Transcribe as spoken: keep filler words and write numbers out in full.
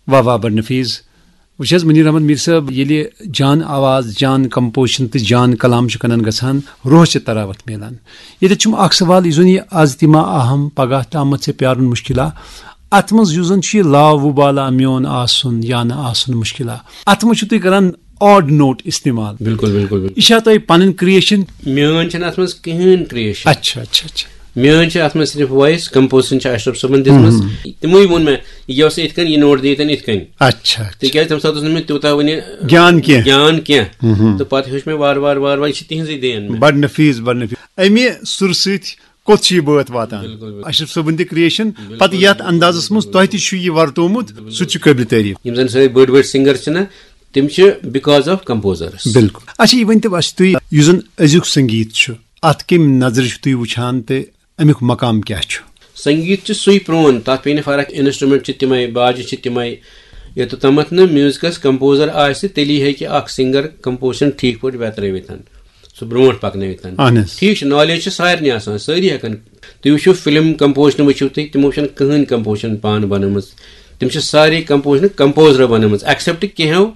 واہ واہ، بڑ نفیٖز۔ وٕچھ حظ، منیر احمد میر صٲب، ییٚلہِ جان آواز، جان کمپوزیشن تہٕ جان کلام چھُ کنن گژھان، روح چھِ تراوت میلان۔ ییٚتٮ۪تھ چھُم اکھ سوال، یُس زن یہِ از تہِ ما اہم، پگاہ تامتھ ژےٚ پیارُن مُشکلا، اتھ منٛز یُس زن چھُ یہِ لا وُبالا میون آسُن یا نہٕ آسُن مُشکلا، اتھ منٛز چھُو تُہۍ کران آڈ نوٹ استعمال۔ بِلکُل، بِلکُل، بِلکُل۔ یہِ چھا تۄہہِ پنٕنۍ کریشن؟ میٲنۍ چھنہٕ اتھ منٛز کِہینۍ کریشن۔ اچھا، اچھا، اچھا۔ میٲنۍ چھِ اتھ منٛز صرف وایس، کمپوزیشن چھِ اشرف صٲبن دِژمٕژ۔ تِموٕے ووٚن مےٚ، یہِ اوس یِتھ کٔنۍ، یہِ نوٹ دِیِتھ یِتھ کٔنۍ۔ اچھا، اچھا۔ تِکیازِ تمہِ ساتہٕ اوس نہٕ مےٚ تیوٗتاہ وُنہِ گیان کینٛہہ۔ گیان کینٛہہ۔ تہٕ پتہٕ ہیوٚچھ مےٚ وارٕ وارٕ وارٕ وارٕ، یہِ چھِ تِہنٛزٕے دین مےٚ۔ بڑ نفیٖس، بڑ نفیٖس۔ امہِ سُرٕ سۭتۍ کوٚت چھُ یہِ بٲتھ واتان؟ بِلکُل، بِلکُل۔ اشرف صٲبن تہِ کریشن، پتہٕ یتھ اندازس منٛز تۄہہِ تہِ چھُ یہِ ورتومُت، سُہ تہِ چھُ قٲبلِ تعریف۔ یِم زن سٲنۍ بٔڑۍ بٔڑۍ سنگر چھِنہ، تِم چھِ because of composers۔ بِلکُل۔ اچھا، یہِ ؤنۍ تو اسہِ تُہۍ، یُس زن أزیُک سنگیت چھُ، اتھ کمہِ نظرِ چھُ تُہۍ وٕچھان تہٕ امیُک مقام کیٛاہ چھُ؟ سنگیت چھُ سُے پرون، تتھ پیٚیہِ نہٕ فرق، انسٹرومنٹ چھِ تِمے، باجہِ چھِ تِمے۔ یوٚتتھ تامتھ نہٕ میوزکس کمپوزر آسہِ، تیٚلی ہیٚکہِ اکھ سنگر کمپوزیشن ٹھیٖک پٲٹھۍ ویترٲوِتھ، سُہ برونٛٹھ پکنٲوِتھ۔ اہن حظ۔ ٹھیٖک چھُ، نالیج چھِ سارنٕے آسان، سٲری ہیٚکن۔ تُہۍ وٕچھِو، فلم کمپوزیشن وٕچھِو تُہۍ، تِمو چھنہٕ کٕہٕنۍ کمپوزیشن پانہٕ بنٲومٕژ۔ تِم چھِ سارے کمپوزیشن کمپوزرو بنٲومٕژ، ایکسپٹ کینٛہو